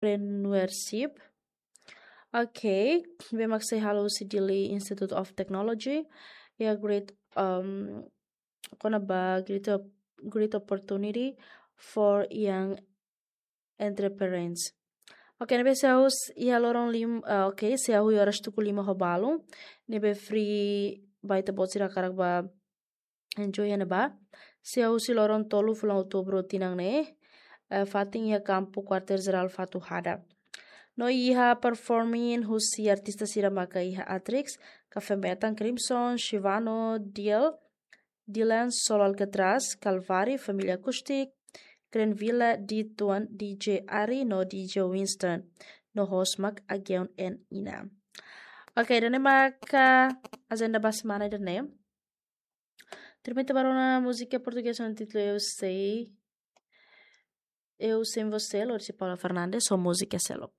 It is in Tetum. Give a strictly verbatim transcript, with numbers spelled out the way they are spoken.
entrepreneurship. Ok, ne'ebé mak sei halo husi Dili Institute of Technology. Ya, great, um, kona-ba great, op- great opportunity for young entrepreneurs. Ok, ne'ebé sei hahú iha loron lim, uh, ok, sei hahú iha oras tuku lima ho balun. Ne'ebé free ba ita-boot sira hakarak ba enjoy iha ne'ebá. Sei hahú husi loron tolu fulan Outubru tinan ne'e. Uh, fatin iha kampu Kuartél Jerál Fatuhada. No iha performing husi artista sira maka iha Atrix, Café Metan, Crimson, Shivano, Diel, Dylan, Solo Alcatraz, Calvary, Família Acoustic, Grand Villa, D Tuan, D J Ari, no D J Winston, no host mak Ageon and Ina. Ok, ida-ne'e maka agenda ba semana ida-ne'e. Termina ba rona múzika portugés ho títulu Eu Sei, Eu Sem Você, lori husi Paula Fernandes, ho múzika seluk.